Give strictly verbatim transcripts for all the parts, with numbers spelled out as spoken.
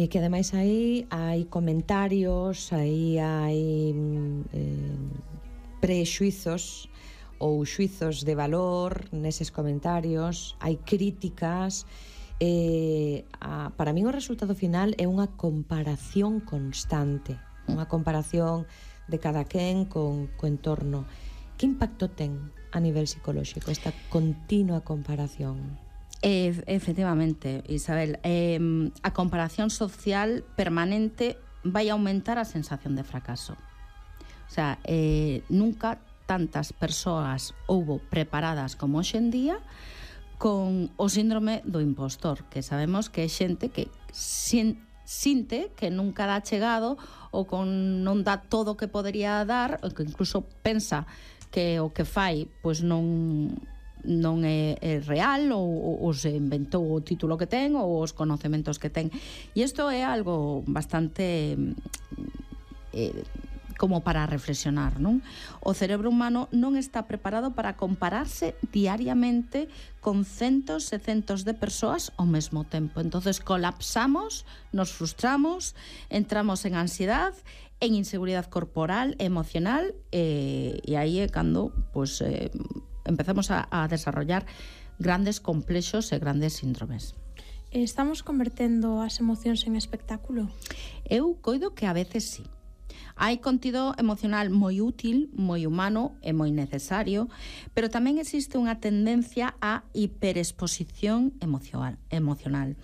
E que ademais aí hai comentarios, aí hai eh, prexuizos ou xuizos de valor neses comentarios, hai críticas. Eh, a, para min o resultado final é unha comparación constante, unha comparación de cada quen con co entorno. Que impacto ten a nivel psicolóxico esta continua comparación? E, efectivamente, Isabel, eh, a comparación social permanente vai aumentar a sensación de fracaso. O sea, eh, nunca tantas persoas houbo preparadas como hoxe en día con o síndrome do impostor, que sabemos que é xente que sin, sinte que nunca dá chegado ou con non dá todo o que podería dar, ou que incluso pensa que o que fai pois non non é, é real ou, ou se inventou o título que ten ou os conocementos que ten. E isto é algo bastante eh, como para reflexionar, non? O cerebro humano non está preparado para compararse diariamente con centos e centos de persoas ao mesmo tempo. Entonces colapsamos, nos frustramos, entramos en ansiedad, en inseguridade corporal, emocional, eh, e aí é cando pues, eh, empezamos a, a desarrollar grandes complexos e grandes síndromes. Estamos convertendo as emocións en espectáculo? Eu coido que a veces sí. Hai contido emocional moi útil, moi humano e moi necesario, pero tamén existe unha tendencia á hiperexposición emocional. emocional.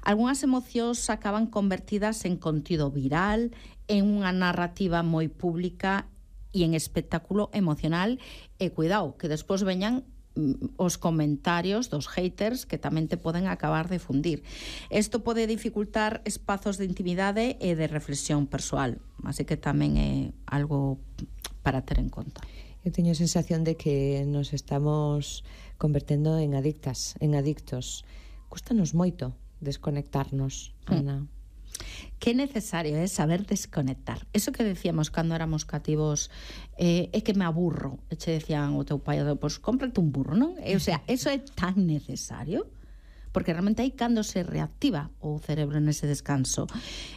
Algúnas emocións acaban convertidas en contido viral, en unha narrativa moi pública e en espectáculo emocional, e cuidado, que despois veñan os comentarios dos haters que tamén te poden acabar de fundir. Isto pode dificultar espazos de intimidade e de reflexión persoal, así que tamén é algo para ter en conta. Eu teño a sensación de que nos estamos convertendo en adictas, en adictos. Cústanos moito desconectarnos, Ana. Mm. Que necesario é saber desconectar. Eso que decíamos cando éramos cativos, eh, é que me aburro. E che decían o teu pai, pois cómprate un burro, non? E, o sea, eso é tan necesario, porque realmente aí cando se reactiva o cerebro nese descanso.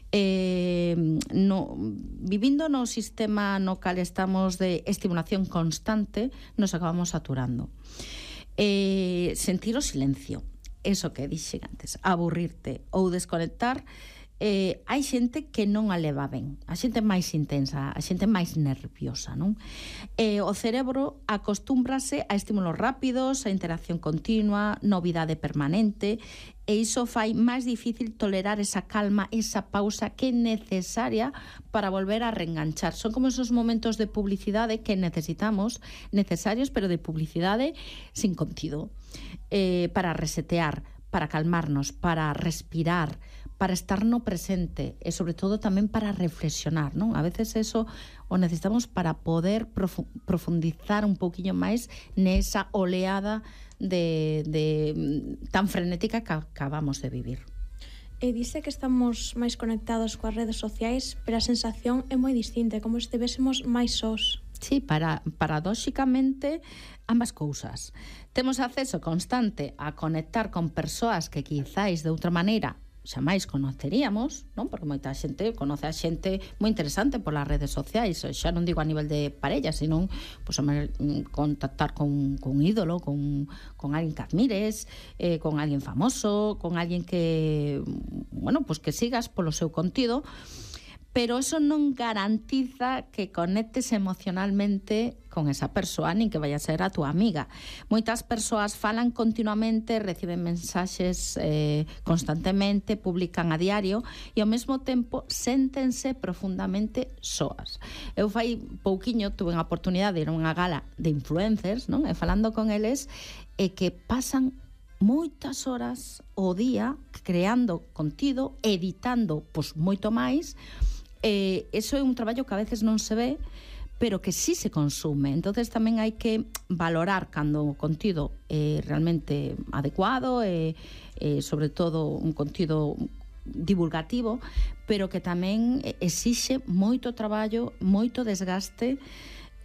Eh, no, vivindo no sistema no cal estamos de estimulación constante, nos acabamos saturando. Eh, sentir o silencio, eso que dixen antes, aburrirte ou desconectar. Eh, hai xente que non a leva ben, a xente máis intensa, a xente máis nerviosa, non? Eh, o cerebro acostúmbrase a estímulos rápidos, a interacción continua, novidade permanente, e iso fai máis difícil tolerar esa calma, esa pausa que é necesaria para volver a reenganchar. Son como esos momentos de publicidade que necesitamos, necesarios, pero de publicidade sin contido, eh, para resetear, para calmarnos, para respirar, para estar no presente e sobre todo tamén para reflexionar, non? A veces eso o necesitamos para poder profu- profundizar un poquinho máis nesa oleada de, de tan frenética que acabamos de vivir. E dice que estamos máis conectados coas redes sociais, pero a sensación é moi distinta, como se estivésemos máis sós. Sí, para, paradóxicamente ambas cousas. Temos acceso constante a conectar con persoas que quizáis de outra maneira xa máis conoceríamos, non? Porque moita xente conoce a xente moi interesante polas redes sociais, xa non digo a nivel de parella, sino pues, contactar con, con un ídolo, con, con alguén que admires, eh, con alguén famoso, con alguén que, bueno, pues que sigas polo seu contido, pero eso non garantiza que conectes emocionalmente con esa persoa, nin que vaya a ser a tua amiga. Moitas persoas falan continuamente, reciben mensaxes eh, constantemente, publican a diario e ao mesmo tempo séntense profundamente soas. Eu fai pouquiño tuve a oportunidade de ir a unha gala de influencers, non? E falando con eles, e que pasan moitas horas ao día creando contido, editando pois moito máis. Eh, eso é un traballo que a veces non se ve, pero que sí se consume. Entonces tamén hai que valorar cando o contido é realmente adecuado e, e sobre todo un contido divulgativo, pero que tamén exixe moito traballo, moito desgaste,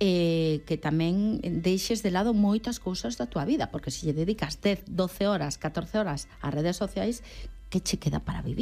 eh, que tamén deixes de lado moitas cousas da tua vida, porque se lle dedicas dez, doce horas, catorce horas ás redes sociais, que che queda para vivir?